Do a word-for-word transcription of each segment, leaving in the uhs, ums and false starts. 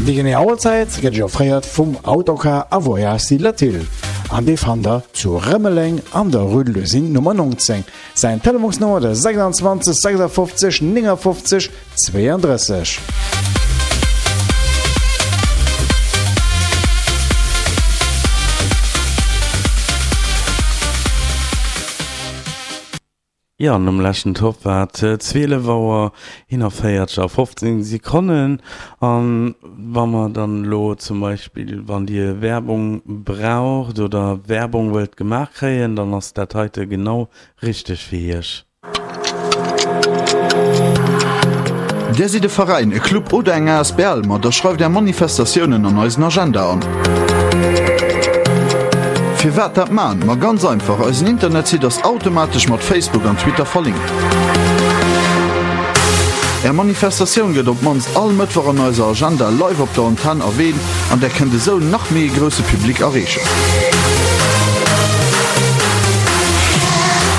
Déi genee Auerzäit gëtt iech offréiert vum Autocar a Voyages Latil an dee fannt der zu Rëmeleng an der Rue de l'Usine Nummer neunzéng. Säin Telefonsnummer de sechsundzwanzeg sechsundfünfzig neunundfünfzig zweiunddrësseg. Jo, an um leschten Topp war et zwielef Auer eenanvéierzeg a fofzéng Sekonnen. An wa mer dann elo zum Beispill, wann Dir Werbung braucht oder Werbung wëllt gemaach kréien, dann ass dat heite genau richteg fir Iech. Dir sidd e Veräin, e Club oder eng asbl? Ma da schreift Är Manifestatiounen an eisen Agenda an. Firwat dat man? Ma ganz einfach, eisen Internetsite ass automatesch mat Facebook an Twitter verlinkt. Är Manifestatioun gëtt op d'mannst all Mëttwoch an eiser Agenda live op der Antenn erwähnt an där kënnt esou nach méi e grousse Public erreechen.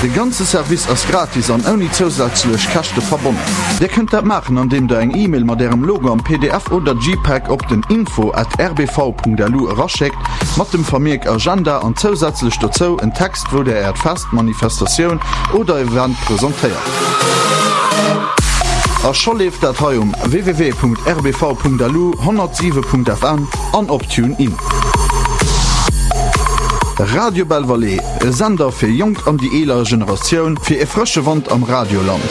De ganze Service ass gratis an ouni zousätzlech Käschte verbonnen. Dir kënnt dat maachen andeem der eng E-Mail mat ärem Logo am P D F oder JPEG op den info at R B V Punkt L U eraschéckt mat dem Vermierk Agenda an zousätzlech dozou en Text wou der äert Fest, Manifestatioun oder Event presentéiert. A scho leeft dat hei um w w w Punkt R B V Punkt L U, honnertsiwe Punkt F M an op TuneIn. Radio Belval, e Sender fir jonk an déi eeler Generatioun, fir e frësche Wand am Radioland.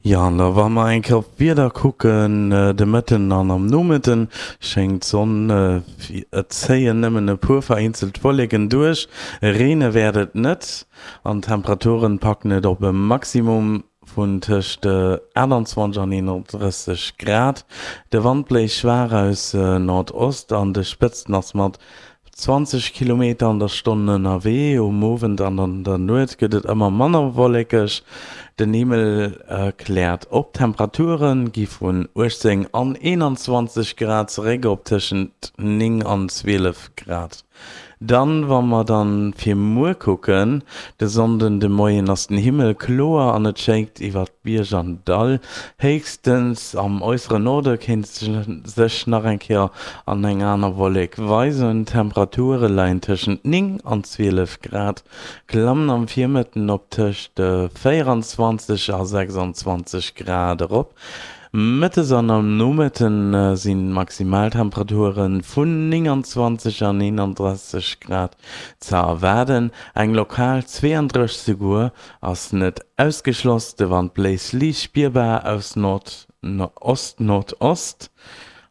Jo, an da wa mer eng Kéier op d'Wieder kucken, de Mëtten an am Nomëtten schéngt d'Sonn, et zéien nëmmen e puer vereenzelt Wolleken duerch, reene wäert et net an d'Temperaturen packen et op e Maximum vun tëscht aachtanzwanzeg an eenandrësseg Grad. De Wand bléist schwaach aus Nordost, an de Spëtzten ass mat zwanzeg Kilometer an der Stonn ënnerwee. Um Owend an an der Nuet gëtt et ëmmer manner wollekeg, den Himmel kläert op. D'Temperature gi vun uechtzéng an eenanzwanzeg Grad zeréck op tëschent néng an zwielef Grad. Dann, wa mer dann fir muer kucken, de Sonnden de Moien ass den Himmel kloer an et schéngt iwwert Bierg an Dall. Héchstens am äussere Norde kéint sech nach eng Kéier an eng aner Wollek weisen. D'Temperature leien tëschent néng an zwielef Grad, klammen am Virmëtten op tëscht véieranzwanzeg a sechsanzwanzeg Grad erop. Mëttes an am Nomëtte sinn d'Maximaltemperature vun nénganzwanzeg an eenandrësseg Grad ze erwaarden, eng lokal zweeandrësseg souguer ass net ausgeschloss. De Wand bléist liicht spierbar aus Ost-Nordost.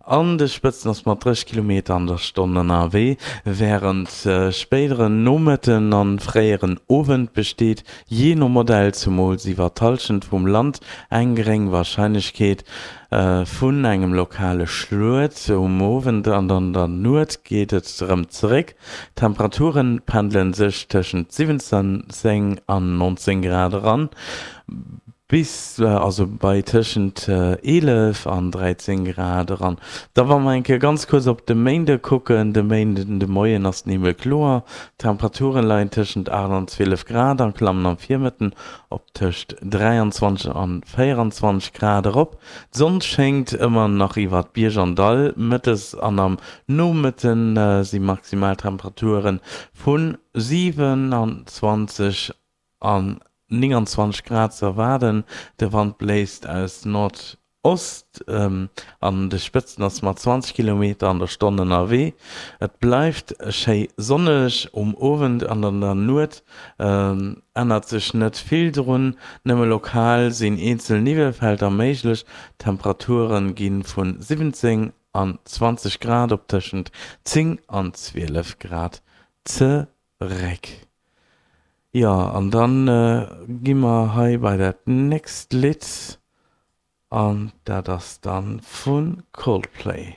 An de Spëtzen ass mat drësseg Kilometer an der Stonn ënnerwee. Wärend spéideren Nomëtten an fréieren Owend besteet jee no Modell zumools iwwer d'Hallschent vum Land eng geréng Warscheinlechkeet vun engem lokale Schluet. Um Owend an an der Nuet geet et erëm zeréck, d'Temperature pendele sech tëschent siwwenzéng an nonzéng Grad eran. Bis also bei tëschent eelef an dräizéng Grad eran. Da wa mer eng Kéier ganz kuerz op de Méinde kucken, De Méinden de Moien ass den Himmel kloer, d'Temperature leien tëschent aacht an zwielef Grad a klammen am Virmëtten op tëscht dräianzwanzeg an véieranzwanzeg Grad erop. D'Sonn schéngt ëmmer nach iwwert Bierg an Dall, mëttes an am Nomëtte si Maximaltemperature vu siwenanzwanzeg an nénganzwanzeg Grad ze erwaarden. De Wand bléist aus Nordost, an de Spëtzten ass mat zwanzeg Kilometer an der Stonn ënnerwee. Et bleift schéi sonneg. Um Owend an an der Nuet ännert sech net vill drun, nëmme lokal sinn eenzel Niwwelfelder méiglech. D'Temperature gi vu siwwenzéng an zwanzeg Grad op tëschent zéng an zwielef Grad zeréck. Jo, an dann gi mer hei bei dat nächst Lidd, an dat ass dann vu Coldplay.